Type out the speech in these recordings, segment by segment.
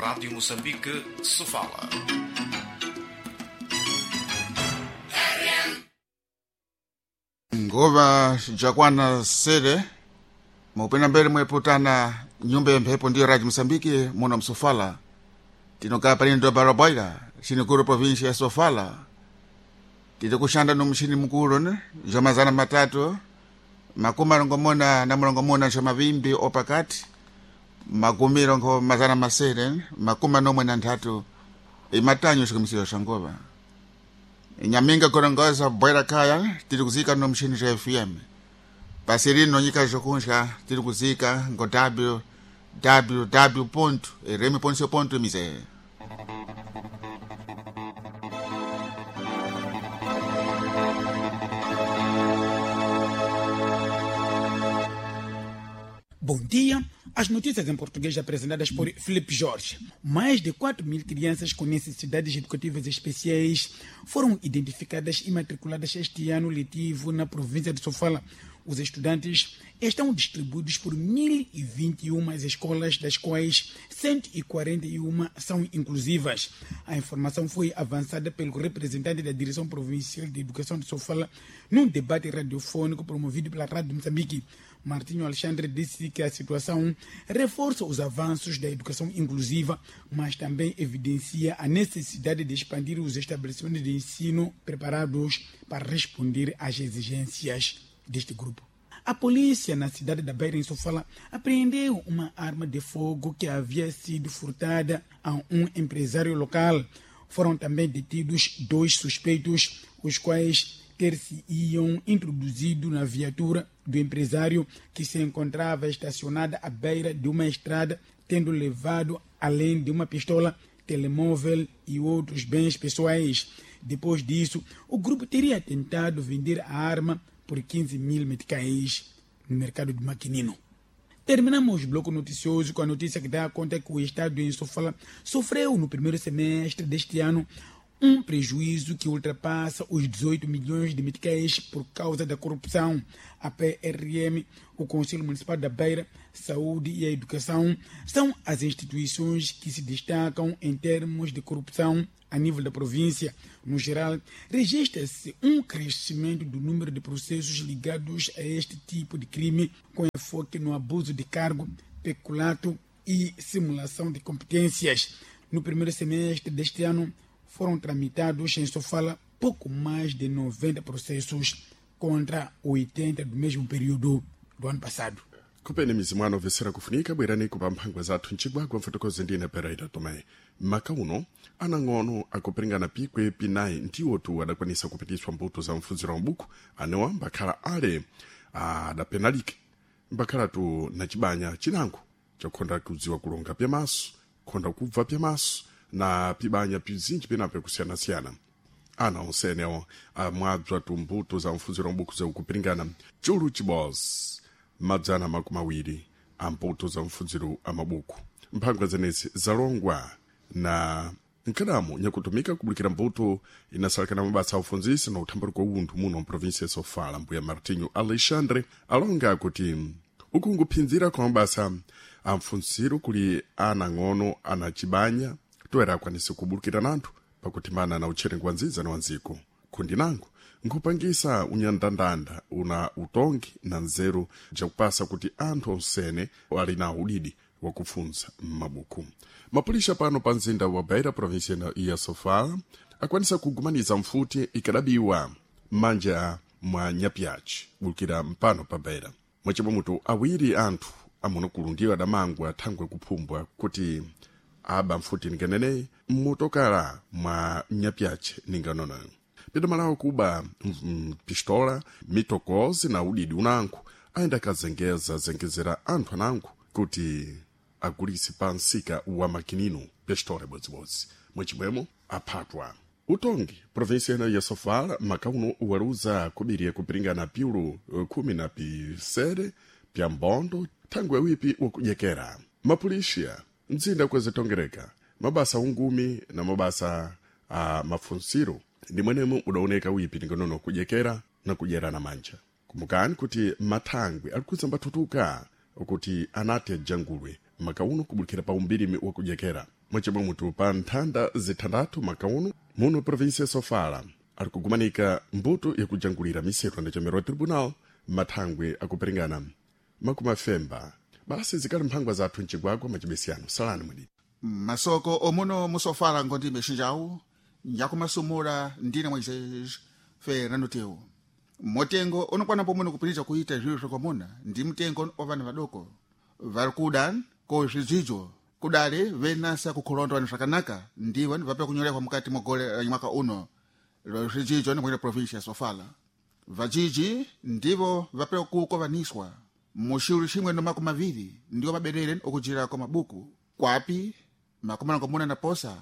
Rádio Moçambique, Sofala. Ngova jakwana sere mupena mbele mweputana nyumba ya mphepo ndiyo Radio Mosambike muno msofala tinokaa palino barabaira chinikuru província ya Sofala tiri kushanda no mchini mukulu ne zwa mazana 360 zwa mavimbi opakati 643 imatanyo xikumisiro xa ngova nyaminga korongoza bwera kaya tiri kuzika no mchini xa FM pasi rino nyika zokunxa tiri kuzika ngo www.rm.co.mz. Bom dia. As notícias em português apresentadas por Felipe Jorge. Mais de 4 mil crianças com necessidades educativas especiais foram identificadas e matriculadas este ano letivo na província de Sofala. Os estudantes estão distribuídos por 1.021 escolas, das quais 141 são inclusivas. A informação foi avançada pelo representante da Direção Provincial de Educação de Sofala num debate radiofônico promovido pela Rádio Moçambique. Martinho Alexandre disse que a situação reforça os avanços da educação inclusiva, mas também evidencia a necessidade de expandir os estabelecimentos de ensino preparados para responder às exigências deste grupo. A polícia na cidade da Beira, em Sofala, apreendeu uma arma de fogo que havia sido furtada a um empresário local. Foram também detidos dois suspeitos, os quais ter-se-iam introduzido na viatura do empresário que se encontrava estacionada à beira de uma estrada, tendo levado, além de uma pistola, telemóvel e outros bens pessoais. Depois disso, o grupo teria tentado vender a arma por 15 mil meticais no mercado de Maquinino. Terminamos o bloco noticioso com a notícia que dá conta que o estado em Sofala sofreu no primeiro semestre deste ano um prejuízo que ultrapassa os 18 milhões de meticais por causa da corrupção. A PRM, o Conselho Municipal da Beira, Saúde e a Educação são as instituições que se destacam em termos de corrupção a nível da província. No geral, registra-se um crescimento do número de processos ligados a este tipo de crime, com enfoque no abuso de cargo, peculato e simulação de competências. No primeiro semestre deste ano, foram tramitados em Sofala pouco mais de 90 processos contra 80 do mesmo período do ano passado. Kupene mizimu ano kufunika bwerani kupa mphangwa zathu mcigwagwa mfotokozi ndine Pereira Tomé. Maka uno anang'ono akupiringana pikwe pinayi ndiwotu adakwanisa kupitiswa mbuto za mfunziro wa mbuku anewa mbakhala ale adapenalike mbakhala tu na cibanya cinango chakukhonda kudziwa kulonga pyamaso khonda kubva pyamaso na pibanya pizinji pinapo kusiyana-siyana ana onsenewo amwabzwa tumbuto za mfunziro wa mbuku zakupiringana chulu chibozi 220 a mbuto za mfunziro a mabuku mphangwa zenezi zalongwa na nkadamu nyakutumika kubulikira mbuto inasalakana mabasa a ufunzisi na uthambaluko wa unthu muno mprovinsia ya Sofala. Mbuya Martinho Alexandre alonga kuti ukunguphinzira kwa mabasa a mfunziro kuli anang'ono ana cibanya toera akwanise kubulukira nanthu pakutimana na utcherengo wa nziza na wanziko kundi nango nkhupangisa unyandandanda una utongi na nzeru jakupasa kuti anthu onsene ali na udidi wakufunza m'mabuku. Mapulisha pano pa mzinda wa Beira, província ya Sofala, akwanisa kugumaniza mfuti ikadabiwa m'manja mwa nyapiaci bulukira mpano pa Beira. Mwacimwemutu awiri anthu amunukulu ndiwo adamangwa thangwe kuphumbwa kuti aba mfuti ninganeneyi mmotokala mwa nyapiaci ninganonoyo pidamalawo kuba pistola mitokozi na udidi unanku ayenda akazengeza zengezera anthu ananku kuti agulise pa msika wa makinino pistola ibodzi mwachimwemo aphatwa utongi província ino ya Sofala makauno waluza kubiriya kupiringana piulu 17 pya mbondo thangwe wipi wakudyekera mapulishiya mzinda kwezitongereka mabasa ungumi na mabasa a mafunsiro ndi mwenemo udaoneka wipi ningonono kudyekera na kudyerana manja kumbukani kuti mathangwi alikhuza mbathutuka kuti anati ajangulwe makauno kubulikira pa umbirimi wakudyekera. Mwacimwe mutu pa nthanda zithandathu makauno muno província ya Sofala ari kugumanika mbuto yakujangulira miseto andachemerwa tribunal mathangwe akuperingana makumi afemba. Basi zikali mphangwa zathu mcigwagwa macibesiyano salani mwidi Masoko omuno musofala ngondi mexinjawu nyakumasumula ndine Moisés Fernando Teu. Motengo unokwana pomwe kupinja kuita zviro zvakwamuna ndi mtengo wa vana vadoko vari kuda ko zvidzidzo kudali venasa kukhulondwa ni zvakanaka ndivo vape kunyorehwa mukati mwa gole la mwaka uno lo zvidzidzo ni mwene província ya Sofala. Vajiji ndivo vape kukovaniswa muxiulu ximwe no 20 ndiwo maberere okujira kwa mabuku kwapi 28 na posa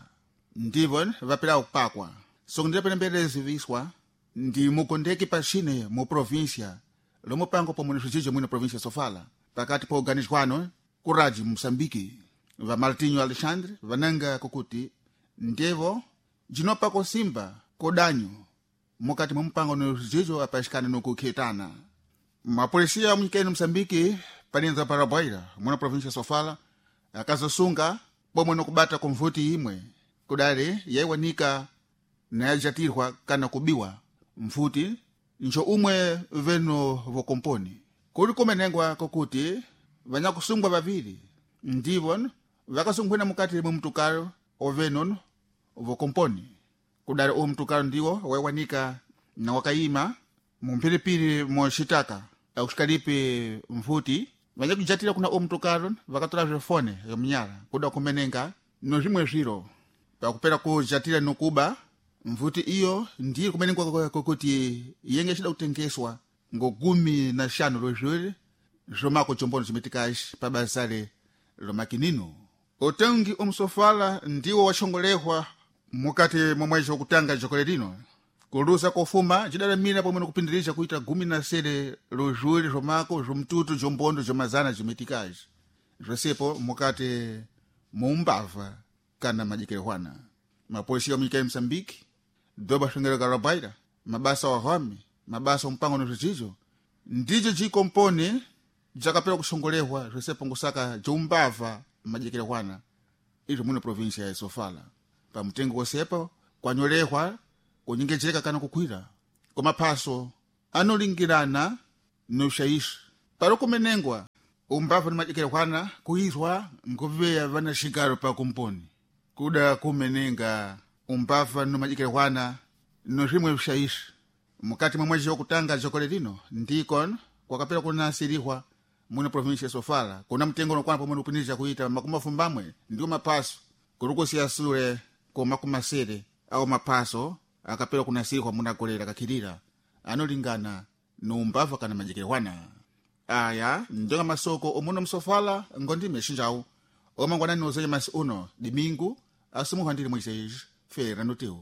ndivo vapela kupakwa sokundira pene mbere ziviswa ndi mukondeki paxine mu província lomupango pomwe ni zvidzidzo mwino província Sofala pakati po organizwano kuraji Moçambique. Va Martinho Alexandre vananga kukuti ndevo jinopako simba kodanyo mukati mwa mupango no zvidzidzo apaxikana nokukhetana. Mapolisia munyikeni Moçambique paninza Paraguaira muna província Sofala akazosunga pomwe nokubata kumvuti imwe kudali yaiwanika nayajatirwa kana kubiwa mfuti njo umwe veno vokomponi. Kuli kumenengwa kokuti vanyakusungwa vaviri ndivo vakasungwina mukati mwe mtukalo oveno vokomponi. Kudali uwu mtukalo ndiwo waiwanika na wakayima mumphiripiri moxitaka akuxikalipi mfuti. Vanyakujatira kuna uwu mtukalo vakatola zvefone yomunyala kuda kumenenga no zvimwe zviro pakupera kujatira nokuba mvuti iyo ndiyo kumenengwa kokuti yenge xida kutengeswa ngo 15 lozviri zvomako chombono cimitikaxi pabasale lomakinino. Utengi umsofala ndiwo waxongolehwa mukati mwa mwezi wakutanga jokole lino kuluza kofuma cidalamira pomwe nokupindirisha kuita 17 lozvuri zvomako zvomtutu jombondo jomazana jimitikaxi zvosepo mukati muumbava kana majikerehwana. Mapolisia wa munyika ya Moçambique doba xongereka la mabasa wa hwami mabasa ompango no zvidzidzo ndijo jikomponi jakapera kuxongolehwa zvosepo ngusaka joumbava majikerehwana izvo muno província ya Sofala. Pamutengo wosepo kwanyolehwa kunyengejeka kana kukwira komaphaso anolingirana noxaixi pari kumenengwa umbava ni majikerehwana kuizwa ngoveya vana xigaro pa komponi kuda kumenenga umbava no majikerehwana no zvimwe vixaixi mukati mwa mwezi wakutanga jokole lino ndiko kwakapera kunasirihwa muno província ya Sofala kuna mtengo unokwana pomwe nokupindirisha kuita 80 ndiwo maphaso kuri kusiya sule ko 70 awo maphaso akapera kunasirihwa muna gole lakakhirira anolingana noumbava kana majikerehwana. Aya ndonga masoko omuno msofala ngondime xinjawu omangwanani ozenye masi uno dimingu asumuhwa ndili Moisés Fernando Teu.